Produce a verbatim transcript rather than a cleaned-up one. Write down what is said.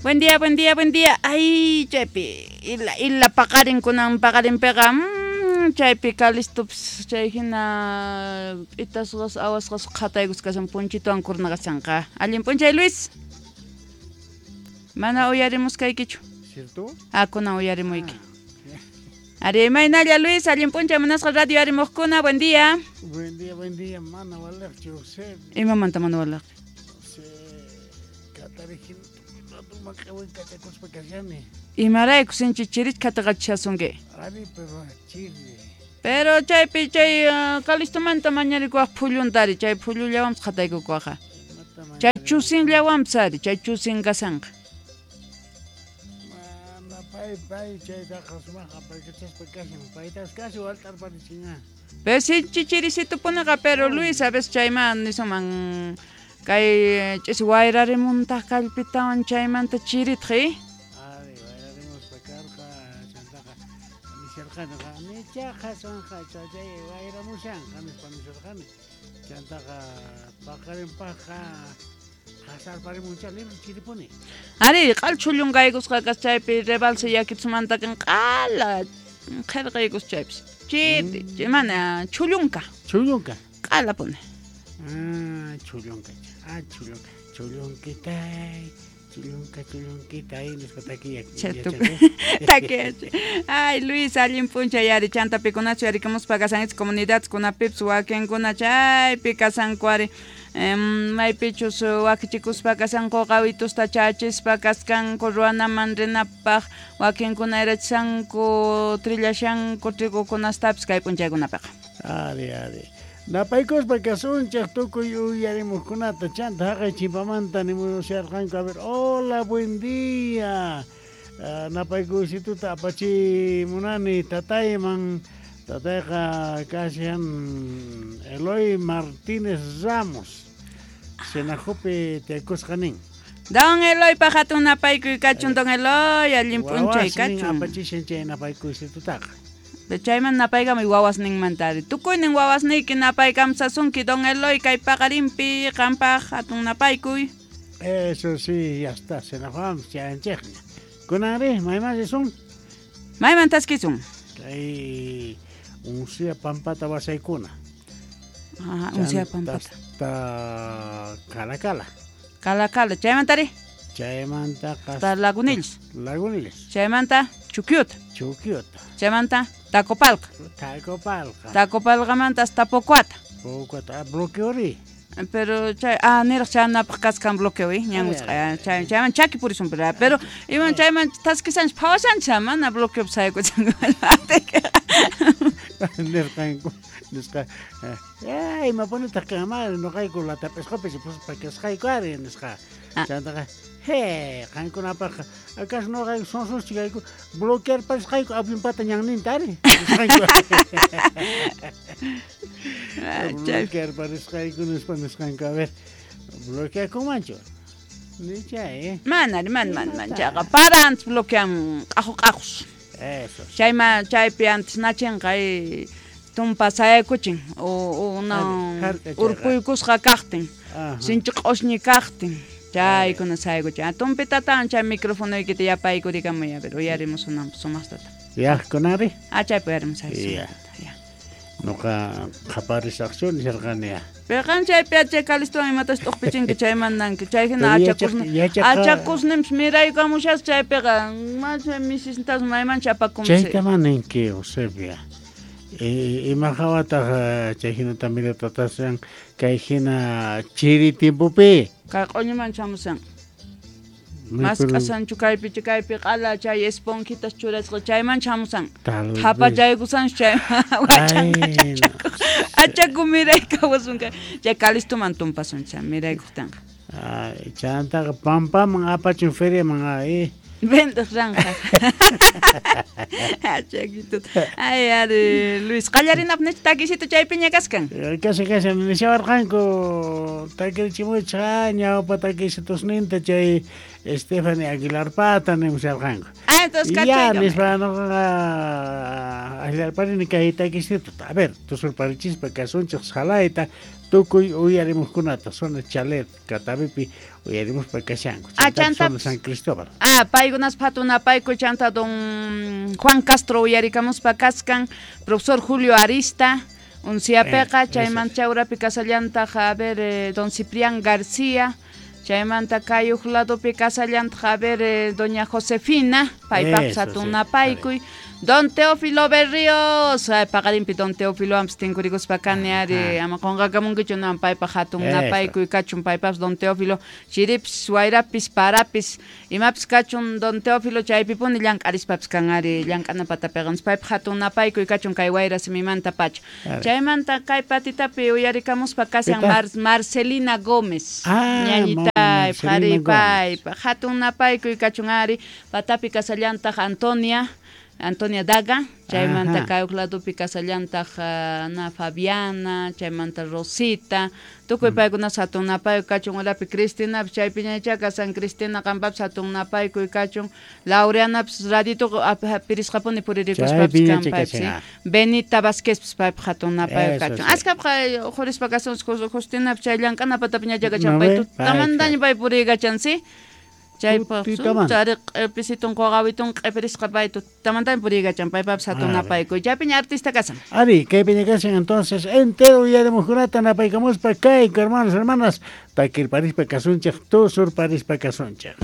Buen día, buen día, buen día. Ay, chaypi ila ila paqarin kunan paqarinpiqa mm, chaypi kalistupis chay hina itasqas awasqas qhataykus kashan punchituwan kurnaqasanqa. Allin p'unchay Luis. Mana uyarimuskaykichu. ¿Cierto? Ah, kunan uyarimuyki. Ari, imaynalla Luis, allin p'unchay munasqa radio arimuqkuna, buen día. Buen día, buen día, mana walaqchu José. Imamanta mana walaq? José, katarijin maq'awin kachakuspa kashani. Imarayku sinchi chirich khataqachishasunki. Ari, pero chiri. Pero chaypi chay uh, kalistumanta mañarikuwaq phulluntari, chay phullullawanpis qhataykukuwaqa. Chay chusinllawanpis ari, chay chusin kasanqa. Mana pay pay chaytaqa sumaq apaykachaspa kashan, paytas kasi walt'arparichinqa. Pero sinchi chirisitupuniqa, pero Luis, a veces chayman nisuman kay ch'isi wayrarimuntaq kallpitawan chaymanta chiritaq, eh? Ari, wayrarimuspa karqa, chantaqa nisharqani, nichaqa sonqa chay wayramushanqa nispa nisharqani. Chantaqa paqarinpaqqa qasarparimuncha libre chiripuni. Ari, q'al chhullunqaykusqa kas chaypi rebalse yakitsumanta q'ala qhirqaykus chaypis. Chiri, mm. mana chhullunka. Chhullunka. Q'alapuni. Ah, chhullunka. Ah, chhullunka. Chhullunkitay, chhullunka, chhullunkitay nispa takiya. Takiya. Ay, Luis, allin p'unchay ari chanta pikunachu yarikamuspa kasanchis comunidades kunapipas wakinkuna chaypi kasanku ari. Maypichus wakichikuspa kasanku qawitusta chachispa kaskanku ruwanaman rinapaq wakinkuna erachishanku trillashanku trigukunastapis kay p'unchaykunapiqa. Ari, ari. Napaykuspa kasunchej tukuy uyarimuqkunata chanta haqay chimpamanta nimusharqanku. A ver, hola, buen día. Uh, napaykuysituta apachimunani tatayman. Tatayqa kashan Eloy Martínez Ramos. Senajopi tiyaykusqa nin. Don Eloy paq hatun napaykuy kachun, don Eloy, allin p'unchay kachun. Apachishan chay napaykuysitutaqa. Chayman napaykamuy wawasninmanta ari. Tukuynin wawasniyki napaykamsasunki, don Eloy, kay paqarinpi qampaq hatun napaykuy. Eso sí, ya está, Senajoam chayanchikña. Kunanri, mayman risun? Mayman taskisun? Kay Uncia Pampata wasaykuna. Ajá, Uncia Pampata. Hasta Calacala. Calacala, chaymantari? Chaymanta hasta Lagunillas. Lagunillas. Chaymanta Chuquiuta. Chuquiuta. Chaymanta Tacopalca. Tacopalca. Tacopalcamanta hasta Pocuata. Pocuata, bloqueori. Pero chay ah niraq chanapaq kaskan bloqueo, eh, ñan wisq'ay chay chayman chaki purisun pero pero iman chayman taskisanchis phawashanchis mana bloqueo saykuchanku. Nirqanku nisqa ay imapunitaq kanman nuqayku latap'isqupis puspa kasqayku ari nisqa. Chantaqa he qankunapaqqa acaso nuqayku sonsoschikayku bloquearpasqayku avionpata ñanninta ari nisqanku. Bloquearparisqayku nispa nisqanku. A ver, bloqueakunmanchu? Nichay, eh? Mana, man, man, man, chayqa para antes bloquean q'aqu q'aqus. Eso. Chayma chaypi antes nachinqa tumpa sayaykuchin o una urpuykusqa kaqtin, sinchi q'usñi kaqtin, chaykuna sayaykuchin. Tumpitatawan chay microfonoykita yapaykurikamuy, a ver, uyarimusunanpaq sumaqtata. Yaqkunari? Ah, chaypi uyarimus sumaqtata. Ya. Nuqa qaparisaqchu nisharqani ya. Pero qan chaypi chay kalistuwan imatas t'uqpichinki chaymantanki chay hina achakusnin achakusninpis miraykamushas chaypiqa macha misisnintas maymancha apakunsi. Chayta maninki Eusebia. Ima hawataq chay hinata miratatasan kay hina chiri tiempopi. Kay q'uñiman chamusan. Mask'asanchu kaypi kaypi q'ala chay esponjitas churasqa chayman chamusan. Thapachaykusanchu chay wachanqa achaku miraykawasun kay chay kalistuman tumpasun chay miraykuqtinqa. Ay, chantaqa pampaman apachun feriaman ay. Vendeq ranqa. Achakito. Ay, ari Luis, qallarinapaq nichu takisito chaypiña kaskan? Kasi kasi nishawarqanku takirichimuchqa ñawpa takisitusninta chay Stephanie Aguilarpata nimusharqanku. Ay, Entonces, Ya, nispa noqa allarparini kay takisituta. A ver, tusurparichispa kasunchej salayta tukuy uyarimuqkunata zona Chalet Catavipi uyarimuspa kashanku. Ah, Chantapis zona San Cristóbal. Ah, paykunas hatun napaykuy chanta don Juan Castro uyarikamuspa kaskan, profesor Julio Arista Unciapeqa, Eh, chaymanta chawrapi kasallantaq a ver eh, don Ciprián García, chaymanta kay uj ladopi kasallantaq a ver eh, doña Josefina, paypaqpas Eso, hatun sí, napaykuy, don Teófilo Berríos, ay, paqarinpi don Teófilo anpas tinkurikuspa kani ari, Ajá. ama qunqakamunkichu nan paypaq hatun Eso. napaykuy kachun paypaqpas don Teófilo, chiripis, wayrapis, parapis, imapis kachun don Teófilo chaypipuni llank'arispapis kan ari, llank'ana patapiqa, paypaq hatun napaykuy kachun kay wayra simimanta pacha. Ari. Chaymanta kay patitapi uyarikamuspa kashan Pitaq? Mar Marcelina Gómez. Ah, Ñañitay, Marcelina qhari Gómez. paypa hatun napaykuy kachun ari, patapi kasallantaq Antonia, Antonia Daga, chaymanta Ajá. kay uj ladopi kasallantaq ah, na Fabiana, chaymanta Rosita, tukuy paykunas hatun napaykuy kachun urapi Cristinapis chaypiñachá kasan Cristina qampapis hatun napaykuy kachun, Laureanapis radituqa ap- pirisqapuni puririkuspapis Chaypiñachá kan paypis, kashan, ah. Benita Vázquezpis paypaq hatun napaykuy Eso kachun. sí. Askapqa uqhurispa kasun Justinapis chay llank'ana patapiñachá kachan No pay ve, tutamantaña pay puriykachan, sí? Chaypaq Tutaman. chari q'episitun qoqawitun q'epirisqa pay tutamantaña puriykachan paypapis hatun Ah, napaykuy. Chaypiña artista kasan. Ari, kaypiña kashan entonces entero uyarimuqkunata napaykamuspa kayku hermanos hermanas takirparispa kasunchej tusurparispa kasunchej.